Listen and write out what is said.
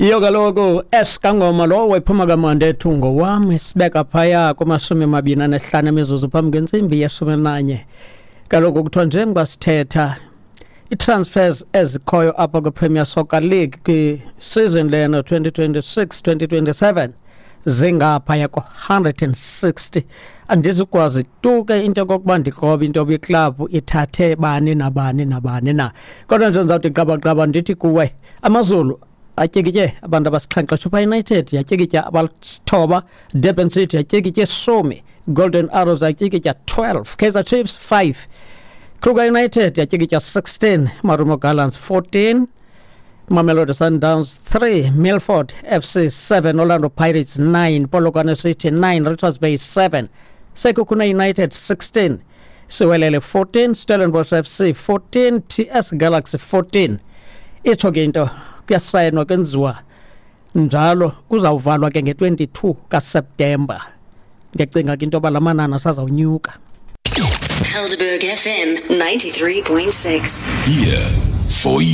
Iyo kaloku esikangoma lowo ephuma kamandi ethu ngowam, sibeka phaya kuma-25 emizuzu phambi kwentsimbi ye-11. Kaloku kuthiwa njengoba sithetha, i-transfers ezikhoyo apha kwi-Premier Soccer League kwi-season lena 2026 2027 zingaphaya ko-160. Andizukwazi tu ke into yokokuba ndikrobe into yoba iklabhu ithathe bani nabani nabani na, kodwa nje ndizawuthi qabaqaba ndithi kuwe, AmaZulu atyikitye abantu abasixhenxe, Chippa United yatyikitya abalithoba, Durban City yatyikitye 10, Golden Arrows yatyikitya 12, Kaizer Chiefs 5, Kruger United yatyikitya 16, Marumo Gallants 14, Mamelodi Sundowns 3, Milford FC 7, Orlando Pirates 9, Polokwane City 9, Richards Bay 7, Sekhukhune United 16, Siwelele 14, Stellenbosch FC 14, TS Galaxy 14. Itsho ke into kuyasayinwa, kwenziwa njalo, kuzawuvalwa ke nge-22 kaSeptemba. Ndiyacinga ke into yoba la manani asazawunyuka. Helderberg FM 93.6. Here for you.